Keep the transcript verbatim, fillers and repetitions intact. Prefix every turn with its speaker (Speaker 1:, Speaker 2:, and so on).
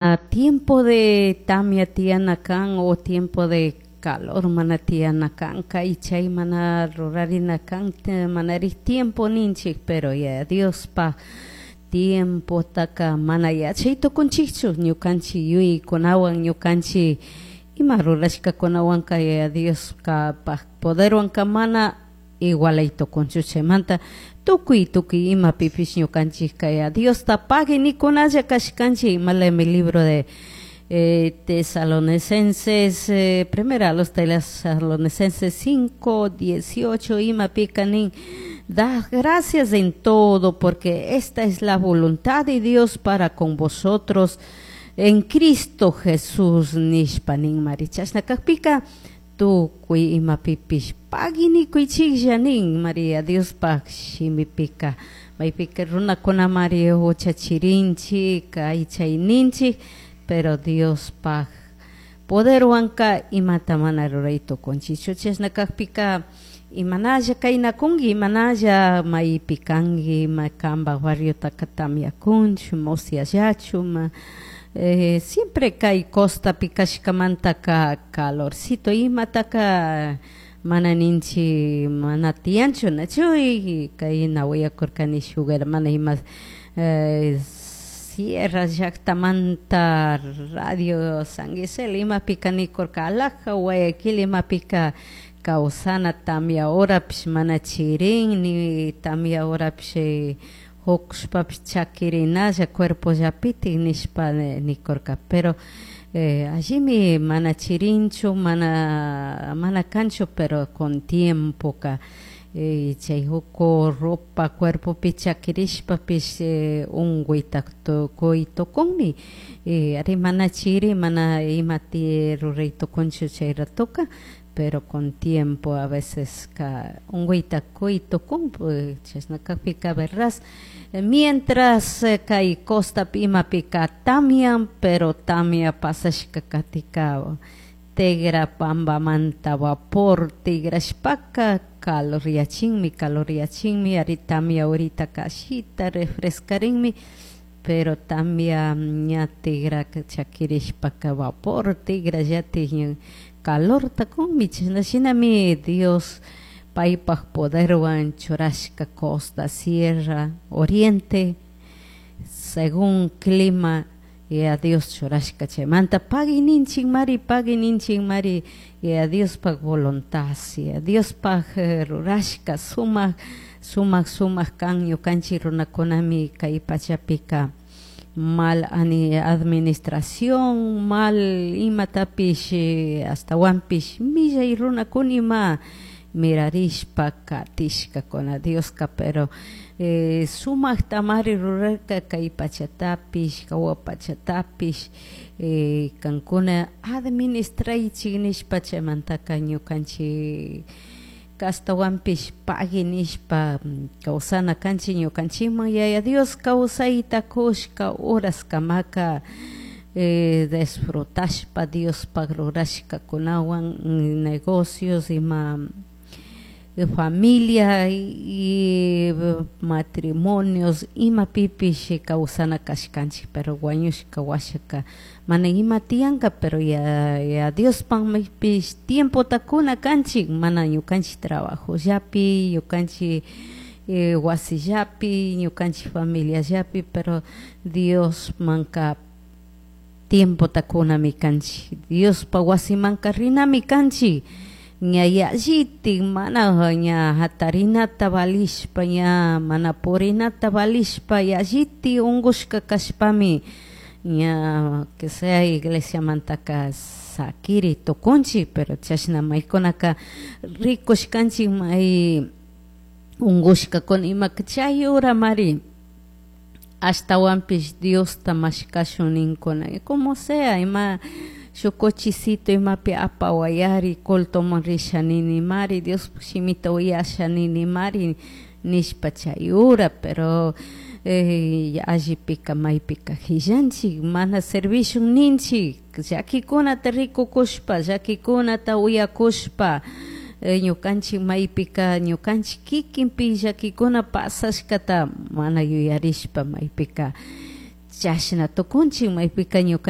Speaker 1: Tiempo de tamia tiyana kan o tiempo de calor mana tiyana kan, kay chay mana rurarina kan, manarik tiempo ninchik, pero Yaya Diospaj tiempotaka mana yachay tukunchikchu ñukanchik yuyaykunawan, ñukanchik ima rurashkakunawanka Yaya Dioskapaj poderwanka mana igualay tukunchu. Chaymanta tukuy tukuy imapipish ñukanchik Yaya Diosta pagui nikunalla kashkanchik. Imalami libro de eh, Tesalonicenses, eh, primera a los Tesalonicenses cinco dieciocho, imapika nin: "Da gracias en todo, porque esta es la voluntad de Dios para con vosotros en Cristo Jesús" nishpa ninmari. Chashna kakpika tukuy imapipish pagui nikuychiklla nin María Diospaj shimipika. Maypika runakunamari huchachirinchik, kay ninchik, pero Diospaj poderwanka imata mana ruray tukunchikchu. Chashna kakpika imanalla kaynakunki, imanalla maypi kanki, ima kanpak barriotaka tamyakunchu, musiallachu, ma eh, siempre kay costapi kashkamantaka calorcito imataka mana ninchik, mana tiyanchu, nachu? Kayna willakurkani shuk hermana ima eh, sierra llaktamanta Radio San Gisel imapika nikurka alaja Guayaquil imapika kawsana, tamya horapish mana chirin, ni tamya horapish hukushpapish chakirinalla cuerpollapitik nishpa nikurka. Pero eh, allimi mana chirinchu, mana mana kanchu, pero con tiempoka eh, chay huku ropa cuerpopi chakirishpapish eh, unkuyta tukuy tukunmi. eh, ari mana chiri, mana imati ruray tukunchu chay ratoka, pero con tiempo a veces ka unkuyta kuy tukun. Chashna kakpika verás, mientras kay costapi imapika tamyan, pero tamia pasashka katika tigra pampamanta vapor tigrashpaka caloryachinmi, caloryachinmi. Ari tamia ahorita ashita refrescarinmi, pero tamia ña tigra chakirishpaka vapor tigrallatik calorta kunmi. Chashna shinami Dios paypaj poderwan churashka costa, sierra, oriente, según clima Yaya Dios churashka. Chaymanta pagui ninchik mari, pagui ninchik mari Yaya Diospaj voluntad, Yaya Diospaj rurashka sumak sumak sumak kan. Ñukanchik runakunami kay pachapika mal administración, mal imatapish, ashtawanpish millay runakunima mirarishpa katishkakuna. Dioska pero eh, sumaktamari rurarka kay pachatapish, jawa pachatapish, eh, kankuna administraychik nishpa. Chaymantaka ñukanchik ashtawanpish pagui nishpa kawsana kanchik. Ñukanchikman Yaya Dios kawsayta kushka horaskamaka eh, disfrutashpa Diospaj rurashkakunawan, negocios, ima familia y matrimonios, imapipish kawsana kashkanchik. Pero wañushka washaka mana ima tiyanka, pero ya, ya Diospakpish tiempota kuna kanchik, mana ñukanchik trabajollapi, ñukanchik eh, wasillapi, ñukanchik familiallapi, pero Diosmanka tiempota kunami kanchik, Diospa wasimanka rinami kanchik. Ña yallitik mana ña hatarinata valishpa, ña mana purinata valishpa, yallitik unkushka kashpami ña que sea iglesiamantaka sakiri tukunchik. Pero chashna maykunaka rikushkanchik may unkushkakuna imaka chay horamari ashtawanpish Diosta mashkashun ninkuna, como sea ima shuk cochecito imapi apawayari, cultoman risha ninimari, Diospuk shimita uyasha ninimari nishpa chay hora. Pero eh, allipika maypika hillanchik, mana servishun ninchik, llakikunata rikukushpa, llakikunata uyakushpa, eh, ñukanchik maypika ñukanchik kikinpi llakikuna pasashkata mana yuyarishpa maypika Chashna tukunchik maypika ñukanchik.